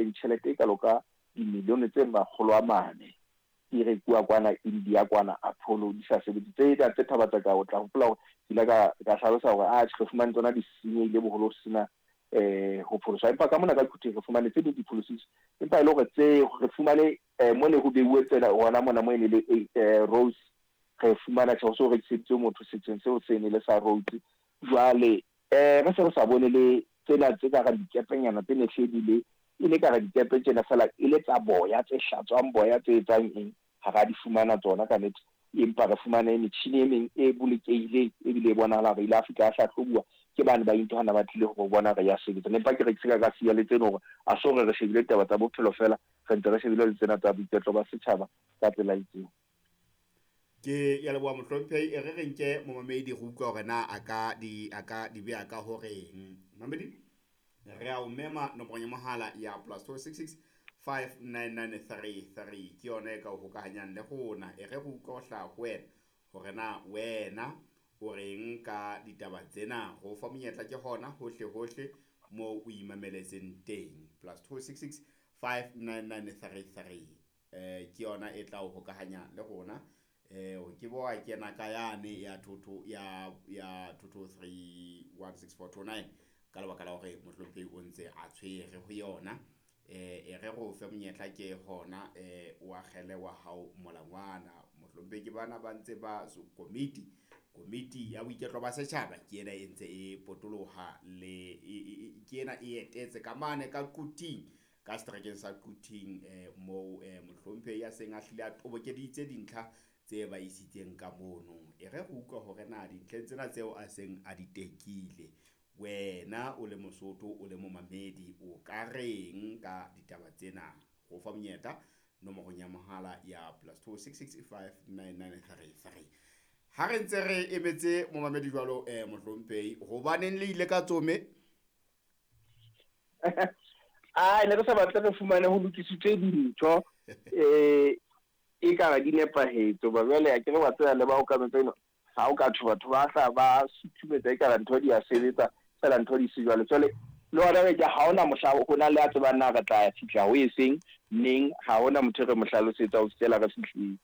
fumaneng tjhelete e kalo ka dimilione tse 400 di rekuwa kwana India kwana Apollo di sa sebetse. Tsena tse Thaba-Tseka o tla hopola hore ke ile ka hlalosa hore atjhe re fumane tsona di senyehile boholo ho sena ho pholoswa. Empa ka mona ka Quthing re fumane tse ding di pholositswe, empa e le hore tse re fumane mo ne ho beuwe tsena hona mona mo e ne le Rose, re fumana tjhe ho se ho rekiseditswe motho setsheng seo se ne le sa Rhodes. Jwale re se re sa bone le tsena tse ka re dikepenyana tse ne hle di le e le ka re dikepe tjena fela e le tsa boya tse hlatswang boya tse etsang eng, ha ra di fumana tsona ka nnete. Empa re fumane metjhini e meng e bolokehileng ebile e bonahala hore ile a fihla a hlahlobuwa ke bane ba intho hana ba tlile ho bona re ya sebetsa. Empa ke re ke se ka siya le tseno hore a so re re shebile taba tsa bophelo fela, re ntse re shebile le tsena tsa boiketlo ba setjhaba ka tsela e itseng. Ke ya leboha mohlomphehi, e re re nke momamedi re utlwa hore na a ka di beha ka horeng. Mamedi, re a o mema nomorong ya mohala ya +266 59933 ke yona e ka o hokahanyang le rona. E re re utlwa ho hlaha ho wena hore na wena o reng ka ditaba tsena. Ho fa monyetla ke hona hohle hohle moo o imameletseng teng. +266 59933 ke yona e tla o hokahanya le rona. O ke bo wa kena ka yane ya thotho ya 223 16429 ka lebaka la hore mohlomphehi o ntse a tshwere ho yona. E re re o fe monyetla ke hona o akgele wa hao molangwana. Mohlomphehi ke bana ba ntse ba komiti ya boiketlo ba setjhaba ke ena e ntse e potoloha le ke ena e etetse ka mane ka Quthing, ka seterekeng sa Quthing, moo mohlomphehi ya seng a hlile a tobokeditse dintlha tse ba isitseng ka mono. E re re utlwa hore na dintlheng tsena tseo a seng a di tekile, wena o le Mosotho o le momamedi o ka reng ka ditaba tsena? Ho fa monyetla nomorong ya mohala ya +266 59933. Ha re ntse re emetse momamedi jwalo, mohlomphehi, hobaneng le ile ka tsome? A ne re sa batle re fumane ho lokisitswe dintho e ka di nepahetse, hoba jwale a ke re wa tseba le ba okametseng ha o ka thwe batho ba hla ba suthumetsa e ka ntho di a sebetsa fela ntho di se jwalo. Jwale le hona ke ha hona mohla ho na le a tsebang na re tla fihla ho e seng neng, ha hona motho re mo hlalosetsa ho fihlela re fihlile.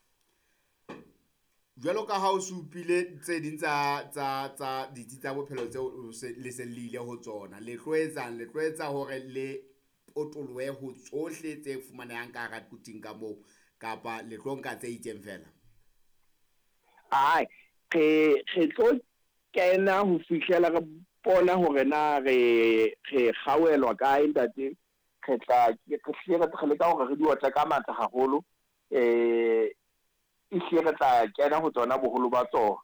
Jwalo ka ha o supile tse ding tsa ditsi tsa bophelo tseo le seng le ile ho tsona, le tlo etsang? Le tlo etsa hore le potolohe ho tsohle tse fumanehang ka hara Quthing ka moo, kapa le tlo nka tse itseng fela? Ai, re tlo kena ho fihlela re bona hore na re kgawelwa kae ntate. Re tla re hlile re leka hore re di otle ka matla haholo, e hlile re tla kena ho tsona boholo ba tsona,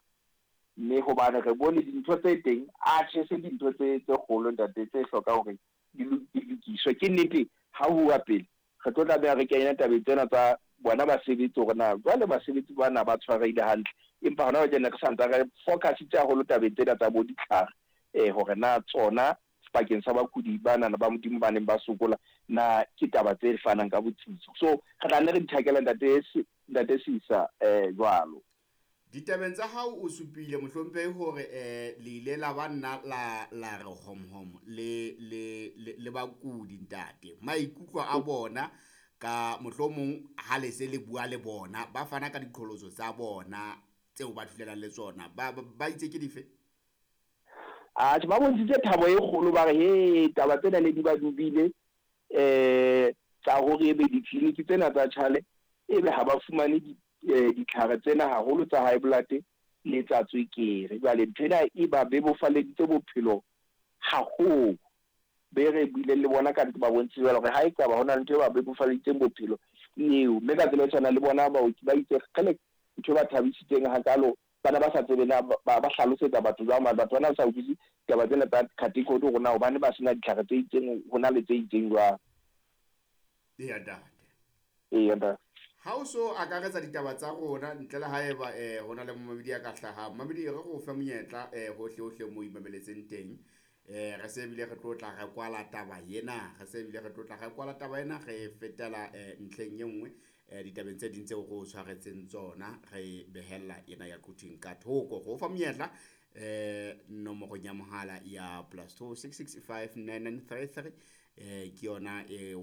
mme hobane re bone dintho tse teng a tjhe se dintho tse kgolo ntate tse hlokang hore di lokiswe. Ke nnete ha ho uwa pele re tlo tlameha re kene tabeng tsena tsa bona basebetsi hore na jwale basebetsi bana ba tshwarehile hantle, empa hona jwale re santse re focusitse haholo tabeng tsena tsa bo ditlhare, hore na tsona bakeng sa bakudi bana ba Modimo ba neng ba sokola na ke taba tse fanang ka botsitso. So re tla nne re di thakela ntate Sisa jwalo. Ditabeng tsa hao o supile mohlomphehi hore le ile la ba nna la re hom hom le bakudi ntate. Maikutlo a bona ka mohlomong ha le se le bua le bona ba fana ka diqholotso tsa bona tseo ba thulelang le tsona, ba itse ke dife? Atjhe, ba bontshitse thabo e kgolo, ba re he taba tsena ne di ba dubile tsa hore ebe ditleliniki tsena tsa tjhale ebe ha ba fumane ditlhare tsena haholo tsa high blood le tsa tswekere. Jwale ntho ena e ba bebofaleditse bophelo haholo. Be re buileng le bona ka nnete ba bontshitse jwalo hore ha ekaba hona le ntho e ba bebofaleditseng bophelo ke eo. Mme ka tsela e tshwanang le bona baoki ba itse kgele ntho e ba thabisitseng hakalo, bana ba sa tsebe na ba hlalosetsa batho jwang, batho bana ba sa utlwisise taba tsena tsa category hore na hobane ba sena ditlhare tse itseng ho na le tse itseng jwang. Eya ntate. Eya ntate. Ha o so akaretsa ditaba tsa rona ntle le haeba ho na le momamedi ya ka hlahang, momamedi re go fe monyetla hohle hohle mo imameletseng teng. Re se bile re tlo tla re kwala taba ena, re se bile re tlo tla re kwala taba ena, re fetela ntlheng e nngwe ditabeng tse ding tseo re o tshwaretseng tsona, re behella ena ya Quthing ka thoko. Go fa monyetla nomorong ya mohala ya +266 59933 ke yona eo.